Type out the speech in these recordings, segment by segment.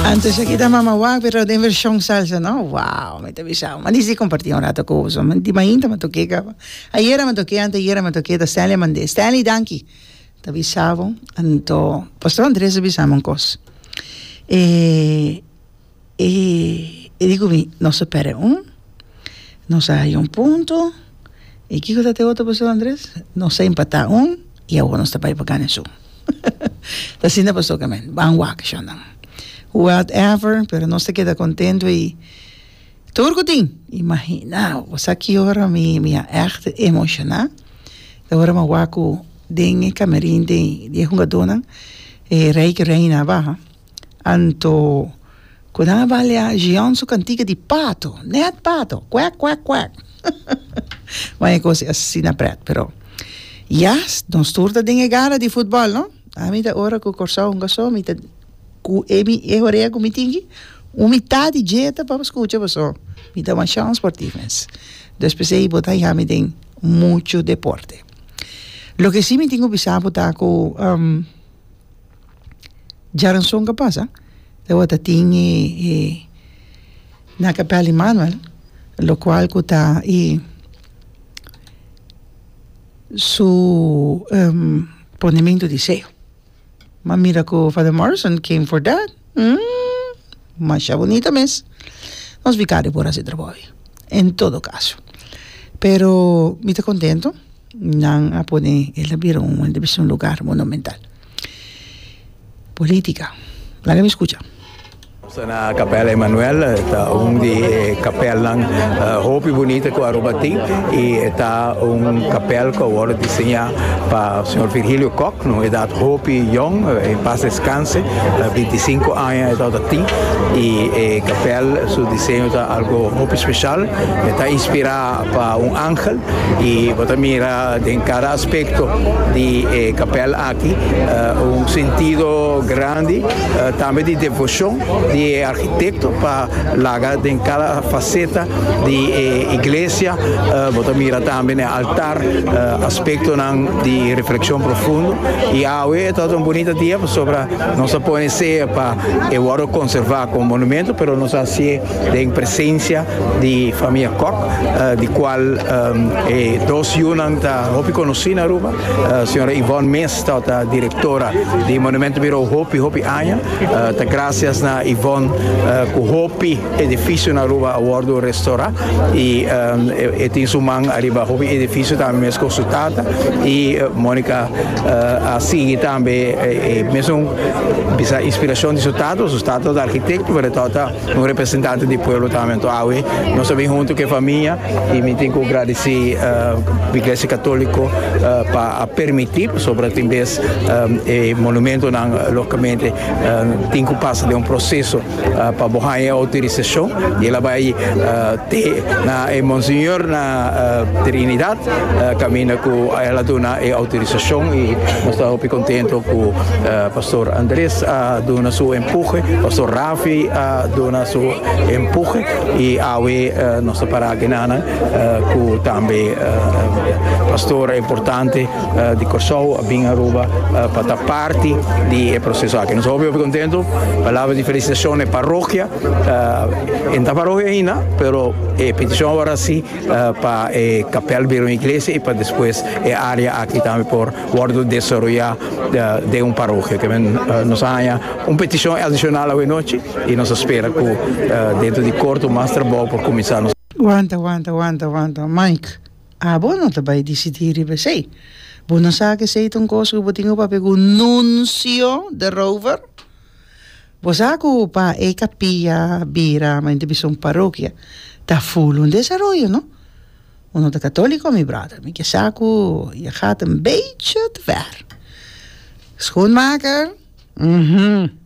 Antes aki ta Mama Wak pero den version salsa no. Wow, mi ta bisa. Ma dici comparti un rato cu boso. Di mainta mi toke caba. Ayera mi toke, anteayera mi toke, ta Stanley a mand'é. Stanley, danki. Ta bisa bo. Anto, Pastor Andres a bisa mi un cos. E, e, e di cu mi, nos a perde un, nos a haya un punto, y kico ta te otro, Pastor Andres? Nos a empata un, y awor nos ta bay pa gana esun. Ta asina pasó ke men. Ban wak shonnan. Whatever, pero nos ta keda contento y tur cu tin. Imagina, bo sa ki ora mi mi a echt emociona? Ta ora mi a wak cu den e camerin di e hungadónan e rey cu reina a baha. Anto ku nan a balia Jeon su kantika di pato, nèt pato, kwèk kwèk kwèk. Wan e kos asina prèt, pero ya, nos tur ta den e gara di futbòl, no? Ami ta ora ku Kòrsou hunga so, mi ta ku e mi e horea ku mi tin aki, un mitad di dje ta pa skucha paso mi ta masha un sportief mens. Dus p'esei bo ta haña mi den muchu deporte. Loke si mi tin ku bisa bo ta ku. Djaranson ka pasa tabata tin e e na Kapel Emmanuel lokual ku ta e su ponementu di seo. M'a mira ku Father Morrison came for that masha bunita mes. Nos vicario por hasi trabou ei en todo caso. Pero mi ta contento. Nan a pone el a bira un el a bisa un lugar monumental. Politica. Laga mi scucha. Nos ta na Kapel Emanuel, ta un di e kapelnan hopi bunita ku Aruba tin i e ta un kapel ku a wòrdu diseñá pa señor Virgilio Kok, na un edat hopi yòn, en pas deskanse, bintisinku aña e tabata tin i e kapel su diseño ta algu hopi speshal, e ta inspirá pa un angel. I bo ta mira den kada aspekto di e kapèl aki un sentido grandi tambe di devoshon di e arkitekto pa laga den kada faseta di e iglesia. Bo ta mira tambe na e altar aspektonan di reflekshon profundo. I awe ta un bunita dia pasobra nos a pone sea pa e wòrdu konservá komo monumento pero nos a hasié den presensia di famia Kok, di cual e dos yunan ta hopi conoci na Aruba. Señora Yvonne mes ta directora di Monumento Bureau hopi hopi aña. Ta gracias na Yvonne cu hopi edificio na Aruba a wordo restaura y e tin su man ariba hopi edificio tambe mescos su tata y Monica a sigui tambe e mesun bisa inspiracion di su tata, su tata ta arquitecto pero e tata Un representante di pueblo tambe. Anto awe nos a bin hunto ku e famia i mi tin ku gradisí Iglesia Katoliko pa a permití pasobra tin bes e monumentonan logikamente tin ku pasa den un proseso pa bo haña e outorisashon i el a bai te na e monseñor na Trinidad kaminda ku el a duna e outorisashon i nos ta hopi kontento ku Pastor Andres a duna su empuje, Pastor Rafi a duna su empuje y awe nos ta para akinan cu tambe pastor importante di Corsou a bin Aruba pa ta parti di e proceso aki. Nos ta hopi hopi contento, palabra di felicitacion na e parokia, e no ta parokia ainda, pero e peticion awor a si pa e kapel bira un iglesia y pa despues e area aki tambe por wordo desaroya den un parokia. Ke men nos a haña un peticion adicional awe nochi y nos a spera cu dentro di corto mas trabou por cuminsa. Nos. Wanta, wanta, wanta, wanta, Mike, abo no ta bai disidí riba esei. Bo no sa ku esei ta un kos ku bo tin ku papia ku Nuncio de Rover? Bo sa ku pa e kapia bira, ma ta bisa un parokia, ta ful un desaroyo, no? Uno ta katoliko, mi brother. Mi ke sa ku je gaat een beetje te ver. Schoenmaker, mhm.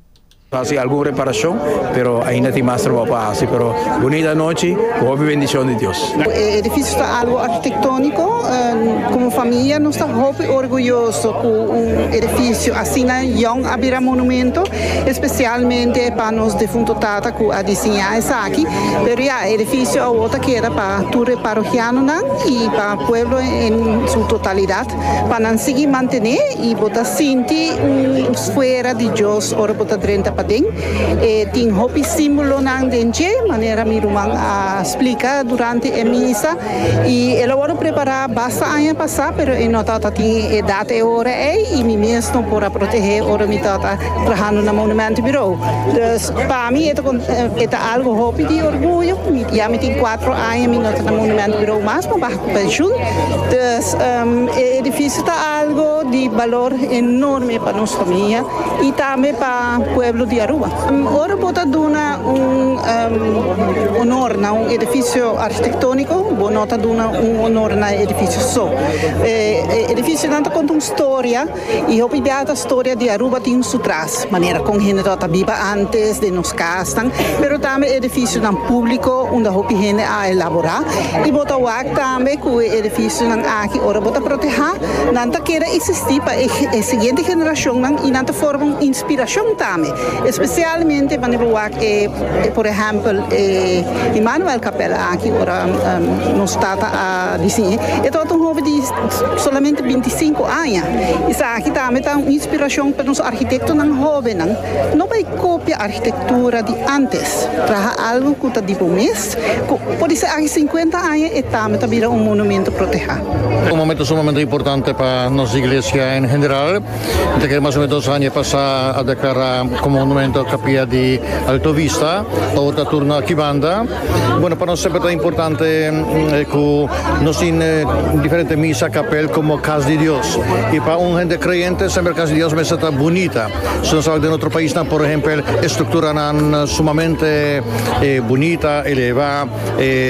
Hasi algun reparashon, pero ainda tin mas trabou pa hasi. Pero bunita anochi, ku hopi bendishon di Dios. E edifisio ta algu arkitektóniko. Komo famia nos ta hopi orguyoso ku un edifisio asina yòn a bira monumento, espesialmente pa nos defunto tata ku a diseñá esaki. Pero ya, e edifisio awor ta keda pa tur e parohianonan i pa pueblo en su totalidat pa nan sigui mantené i bo ta sinti un sfuera di Dios ora bo ta drenta. paden. E tin hopi símbolonan den dje, manera mi ruman a splika durante e misa, i el a wòrdu prepará basta aña pasá, pero e no tabata tin e data e ora ei i mi mes no por a protehé ora mi tabata trahando na Monumentenbureau. Dus pa mi e ta e ta algu hopi di orguyo. Mi ya mi tin kuatro aña mi no ta na Monumentenbureau mas, mi a baha ku penshun. Dus e edifisio ta algu di balor enorme pa nos famia. Y tambe pa pueblo di Aruba. Ora bo ta duna un honor na un edificio architectonico, bo no ta duna un honor na e edificio so. E edificionan ta conta un storia y hopi bia ta storia di Aruba tin su tras, manera con hende tabata biba antes den nos casnan, pero tambe edificionan publico unda hopi hende a elabora y bo ta wak tambe cu e edificionan aki ora bo ta proteha, Nan ta keda existi pa e siguiente generacionnan y nan ta forma un inspiracion tambe, especialmente wanneer bo wak e por ehempel e Immanuel Kapel aki ora nos tata a diseñ'e, e tabata un hoben di solamente bintisinco aña. Esaki tambe ta un inspiracion pa nos architectonan hobennan no bay copia architectura di antes, traha algo cu ta di bo mes. Ku podise aki sinkuenta aña e tambe ta bira un monumento protehá. Un momento sumamente importante pa nos iglesia en general. Mi ta kere mas o menos dos aña pasá a deklará komo monumento Kapia di Alto Vista. Awor ta turno aki banda. Bueno, pa nos semper ta importante ku nos tin diferente misa, kapel komo kas di Dios. I pa un hende kreyente semper kas di Dios mester ta bunita. Si nos wak den otro paisnan, por ehempel, e strukturanan sumamente bunita, elevá,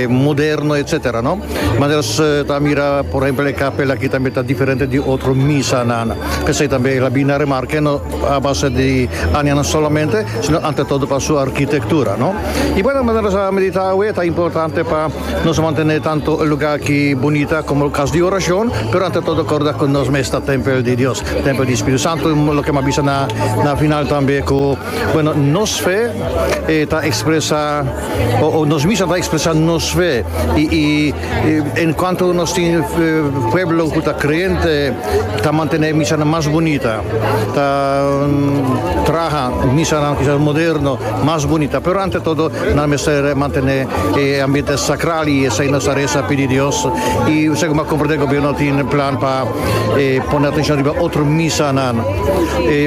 moderno, etcétera, no? Manera nos ta mira, por ehempel, e kapel aki tambe ta diferente di otro misanan. P'esei tambe el a bini na remarke, no a base di añanan solamente, sino ante todo pa su arkitektura, no? I bueno, manera nos a meditá awe, ta importante pa nos mantené tanto e lugá aki bunita komo kas di orashon, pero ante todo kòrda ku nos mes ta tèmpel di Dios, tèmpel di Spiritu Santu, loke mi a bisa na na final tambe ku, bueno, nos fe ta ekspresá o nos misa ta ekspresá nos fe i i en kuanto nos tin pueblo ku ta kreyente ta mantené misanan mas bunita, ta traha misanan kisas moderno mas bunita, pero ante todo Nan mester mantené e ambiente sakral i esei nos ta resa pidi Dios. I segun a komprendé gobierno tin plan pa pone atenshon riba otro misanan.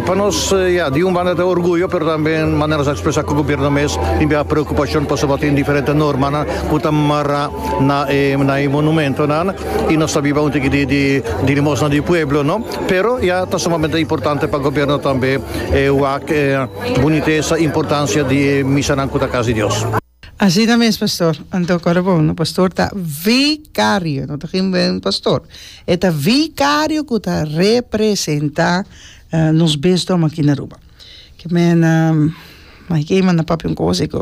Pa nos ya di un banda ta orguyo pero tambe manera nos a ekspresá ku gobierno mes tin bia preokupashon pasobra tin diferente normanan ku ta mará na e na e monumentonan i nos ta biba un tiki di di di limosna di pueblo no. Pero ya ta sumamente importante pa gobierno tambe wak e Bunitesa, importancia di e misanan cu ta cas di Dios. Asina mes pastor, anto kòrda bon no, pastor ta vicario, no ta geen buen pastor, e ta vicario ku ta representa nos bisdom aki na Aruba. Ke men mai ke manda papia un kos ei ku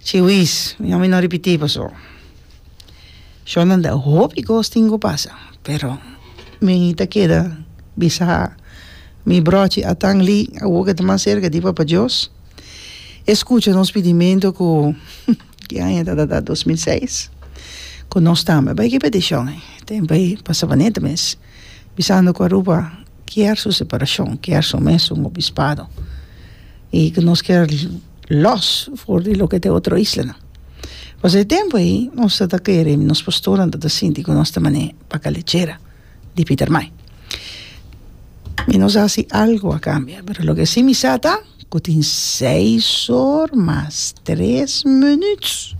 chiwis, mi no ripití paso. Shonnan ta hopi kos tin ku pasa, pero mi ta keda bisa mi brochi atan li awor ke ta mas serka di Papa Dios e skucha nos pidimentu ku ki aña ta ta 2006 ku nos tambe bai ki petishon ei tempu ei pa Savaneta mes bisando ku Aruba kier su separashon kier su mes un obispado i ku nos kier lòs for di loke ta e otro islanan. Pasobra e tempu ei nos ta ta kere, nos pastornan ta ta sinti ku nos ta manera baka lechera di Pietermaai. Mi no sa si algu a kambia, pero loke si mi sa ta ku tin seis or mas tres minuut.